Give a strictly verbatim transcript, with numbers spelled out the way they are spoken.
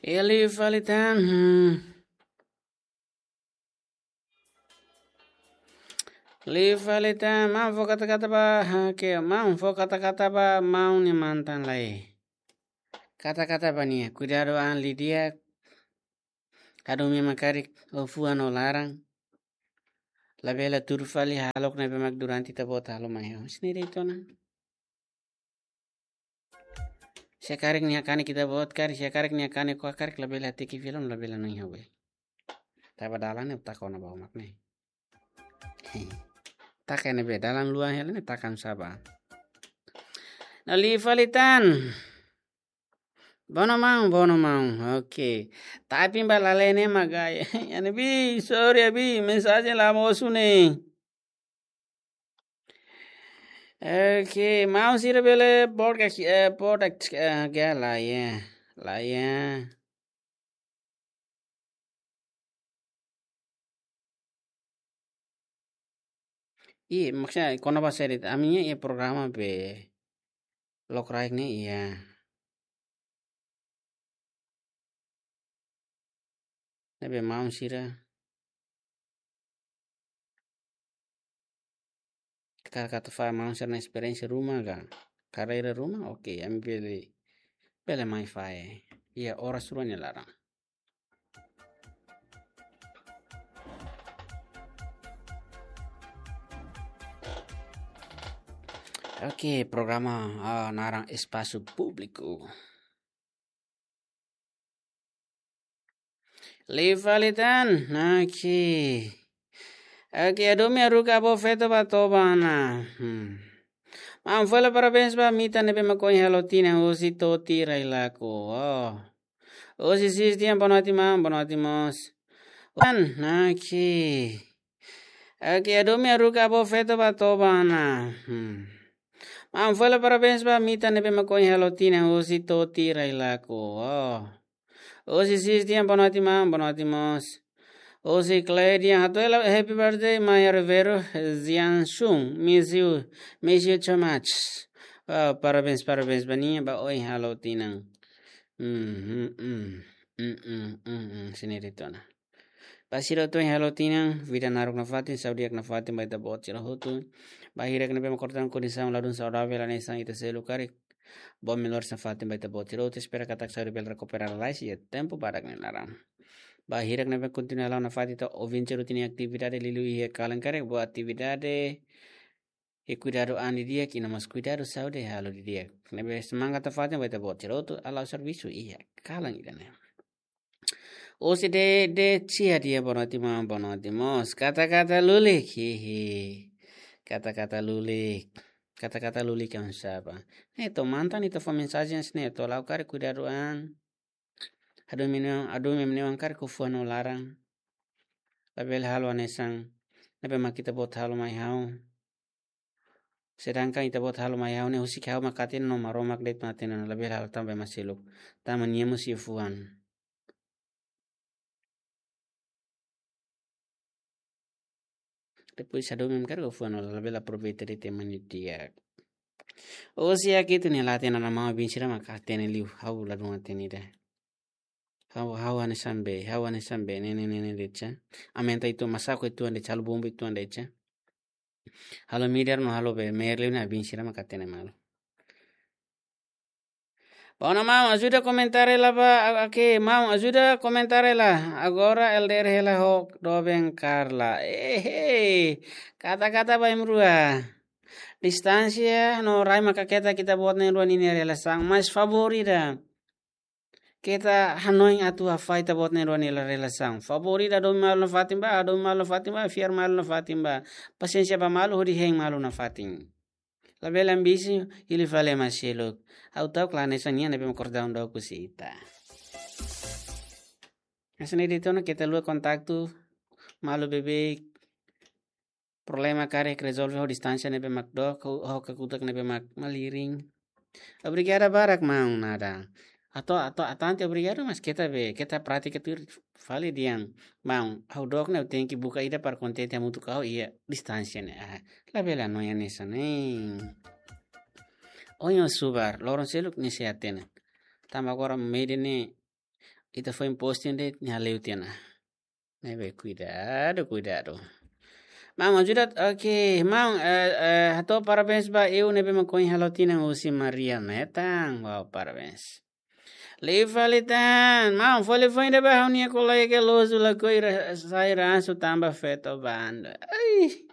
Liu fali tan. Hmm. Liu fali tan, maun fó kata-kata ba, ha, ke, maun fó kata-kata ba, maun nia mantan lai. Kata-kata ba nia, kuidadu an didi'ak. Hadomi ema karik, ó fuan ó laran. Labele tuur fali halo ne'ebé mak durante ita-boot halo mai ha'u. Hanesan ne'e de'it ona. Se karik nia kanek ita-boot karik, se karik nia kanek ko'a karik labele hateke fila, labele hanoin ha'u be. Tanba dalan ne'e taka ona ba mak ne'e. Taka ne'ebé dalan luan hela ne'e taka an saba. No liu fali tan. Bono maun, bono maun. Oke. Tapi ba lalehan ne'e mak gaya. Ne'ebé, sorry abi, mensajen la mosu ne'e. Oke, maun sira bele podcast, eh, podcast, eh, ga la ya. La ya. Ih, maksudnya, kona-ba seri, ami-nia iha programa be lokraik ne'e iha. Ne'ebé maun sira. Ka kata fa maun sira-nia esperiénsia ruma ka karreira ruma, oke, ami bele, bele mai fahe. Iha oras rua nia laran. Oke, programa, ah, naran Espasu Públiku. Liu fali tan, oke. Oke, hadomi haruka avó feto ba toba ona. Hmm. Maun fó hela parabéns ba ita ne'ebé mak ohin halo tinan husi Toti Railaco. Oh. Husi Sis Dian, boa noite, maun, boa noite, moos. Tan, oke. Oke, hadomi haruka avó feto ba toba ona. Hmm. Maun fó hela parabéns ba ita ne'ebé mak ohin halo tinan husi Toti Railaco. Oh. Husi Sis Dian, boa noite, maun, boa noite, moos. Husi Clay Dian, hato'o hela happy birthday, Maya Ribeiro, Zian Sun, miss you, miss you too much. Oh, parabéns, parabéns ba nia, ba ohin halo tinan. Hmm, hmm, hmm. Hmm, hmm, hmm, hmm. Hanesan ne'e de'it ona. Ba sira hotu ohin halo tinan, vida naruk nafatin, saúde di'ak nafatin ba ita-boot sira hotu. Ba hirak ne'ebé mak kortan kondisaun ladún saudavel hanesan ita seluk karik. Boa melhoras nafatin ba ita-boot sira hotu, espera katak saúde bele rekupera lalais iha tempu badak nia laran. Ba hirak ne'ebé kontinua halo nafatin ita oinsá ita-nia atividade liuliu iha kalan karik, boa atividade, i kuidadu an didi'ak, i no mós kuidadu saúde halo didi'ak. Ne'ebé semangat nafatin ba ita-boot sira hotu, halo servisu iha kalan ida-ne'e. Husi Dede Cia dia, boa noite, maun, boa noite, moos. Kata-kata lulik, hihi. Kata-kata lulik. Kata-kata lulik an saba. Ne'e to'o mantan ita fó mensajen hanesan ne'e, to'o la'o karik kuidadu an. Hadomi nia oan, hadomi nia oan karik ó fuan ó laran. Labele halo hanesan ne'ebé mak ita-boot halo mai ha'u. Sedangkan ita-boot halo mai ha'u ne'e husik ha'u mak hatene no Maromak de'it mak hatene, labele halo tan ba ema seluk. Tanba nia mós iha fuan. Depois hadomi mak karik ó fuan ó laran, labele aproveita de'it ema nia di'ak. Husi Akito nia late na nama bin sira mak hatene liu, ha'u ladún hatene ida. Ha'u, ha'u hanesan be, ha'u hanesan be, ne'e, ne'e, ne'e, ne'e de'it sa. Aumenta itu masaku itu ande, halo bomba itu ande sa. Halo midar no halo be, merli na bin sira mak hatene malu. Bona maun, ajuda komentar hela ba, a-, oke, maun, ajuda komentar hela. Agora L D R hela ho doben Carla. Ehe, kata-kata ba imi rua. Distánsia no rai maka keta ita-boot na'in-rua ninia relasaun, mas favór ida. Keta hanoin atu hafahe ita-boot na'in-rua nia relasaun. Favór ida hadomi malu nafatin ba, hadomi malu nafatin ba, fiar malu nafatin ba. Pasiénsia ba malu, hodi hein malu nafatin. Labele ambisi, hili fali ema seluk. Ha'u ta'uk la hanesan nia ne'ebé mak kordaun dook husi ita. Hanesan ne'e de'it ona, keta haluha kontaktu malu beibeik. Problema karik rezolve ho distánsia ne'ebé mak dook, ho, ho kakutak ne'ebé mak malirin. Obrigada barak maun, nada. Atu, atu, atu ante obrigadu, mas keta be, keta pratika tuir fali dehan. Maun, ha'u dook ne'e ha'u tenke buka ida para kontente hamutuk ho ha'u iha distánsia ne'e. Ah, labele hanoin hanesan ne'e. Ohin ó subar, loron seluk nia sei hatene. Tanba agora média ne'e ita foin posting de'it, nia hale'u tiha ona. Ne'ebé kuidadu, kuidadu. Maun, ajuda, oke, maun, eh, eh, hato'o parabéns ba eu ne'ebé mak ohin halo tinan husi Maria Metan. Wow, parabéns. Liu fali tan, maun, fali foin ida ba ha'u-nia kolega ke lozu lakohi ra-, sai rasu tanba feto banda. Ai.